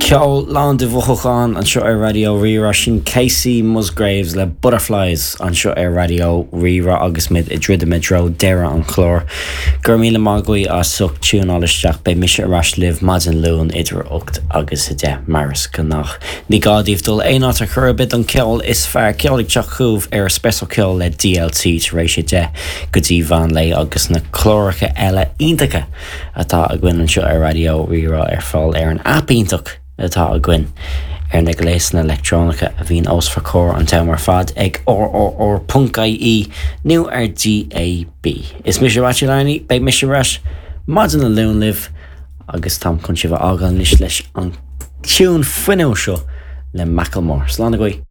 Ceol lán de mhothúcháin anseo ar Raidió Rí-Rá. Sin Kacey Musgraves le Butterflies anseo ar Raidió Rí-Rá agus muid ag druidim i dtreo deireadh an chláir. Go raibh míle maith agaibh as ucht tiúnáil isteach. Beidh mise ar ais libh maidin Luain idir 8 agus 10 mar is gnách. Ní gá daoibh dul aon áit ar chor ar bith don cheol is fearr. Ceol ag teacht chugaibh ar Espresso Ceol le DLT tar éis 10 go dtí mheán lae agus na cláracha eile iontacha atá againn anseo ar Raidió Rí-Rá ar fáil ar an aip iontach atá againn ar na gléasanna leictreonacha a bhíonn os bhur gcomhair an t-am ar fad ag rrr.ie nó ar DAB. Is mise Maitiú Larney, beidh mise ar ais maidin an Luain libh agus táim chun sibh a fhágáil anois leis an tiún fuinniúil seo le Macklemore. Slán agaibh!